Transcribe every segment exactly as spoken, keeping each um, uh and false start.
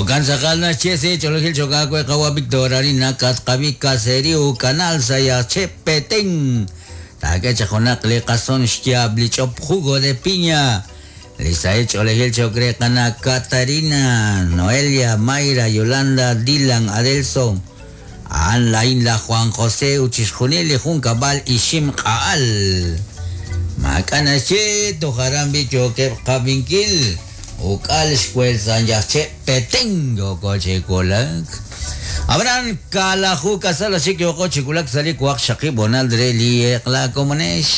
Jo'kan tz'aqal naxye si ch'olojil chok'aawe qawa Victor Arina katqabi caserío canal sayache Petén. Taak'e chaq li qason xyaab' li ch'op jugo de piña. Li sahil ch'oolejil cho'q re qana Catarina, Noelia, Mayra, Yolanda, Dylan, Adelson. A'an lain la Juan José uchixjunil li junkab'al ixim q'a'al. Maak'a' naxye toj aran bi yookeb' qab'inkil. Uk'al xwel san yajche Petén yooko chiwulak. Abraham kalaju kasal xik yooko chiwulak sa' li waqxaqib' honal re li eq'la komonex.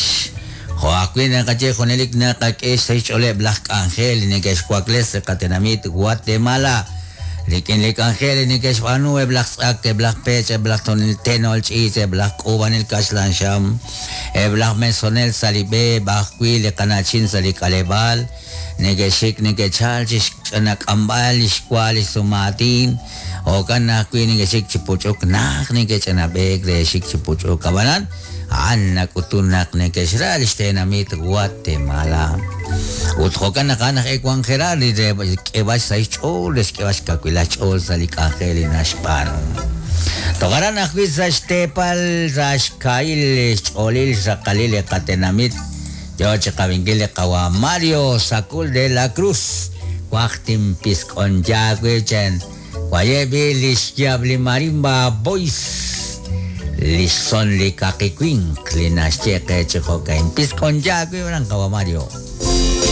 Jo'ajwi' naqaye junelik naqak'e xch'ooleb' laj k'anjel neke'xwakles li qatenamit Guatemala. Rik'in li k'anjel neke'xb'aanu eb' laj tz'ak, eb' laj pech, eb' laj tonil tenol ch'iich, eb' laj k'uub'anel kaxlan xam, eb' laj mesonel sa' li b'e, b'ajwi' li qana'chin sa' li k'aleb'aal, neke'xik neke'chal chi xch'anak'amb'al li xwa li sumaatin, jo'kan ajwi' neke'xik chi puch'uk naj neke'ch'anab'eek re xik chi puch'uk ab'anan a'an nak'utun naq neke'xra li xtenamit Guatemala. Ut jo'kan naq a'an aj ewan Gerard li re k'eb'ax sa' xch'ool, re xk'eb'ax kawila xch'ool sa' li k'anjel li naxb'aanu. Toj aran ajwi' sa' xteepal sa' xka'il xch'oolil xraqalil li qatenamit yo chi qab'inkil li qawa Mario Sacul de la Cruz. Waqtin pisk'on yaawi chen. Wayebi li xyaab' li marimba boys. Li son li kaqiwink li naxye qe chi jo'kan. Pisk'on yaawi ran qawa Mario.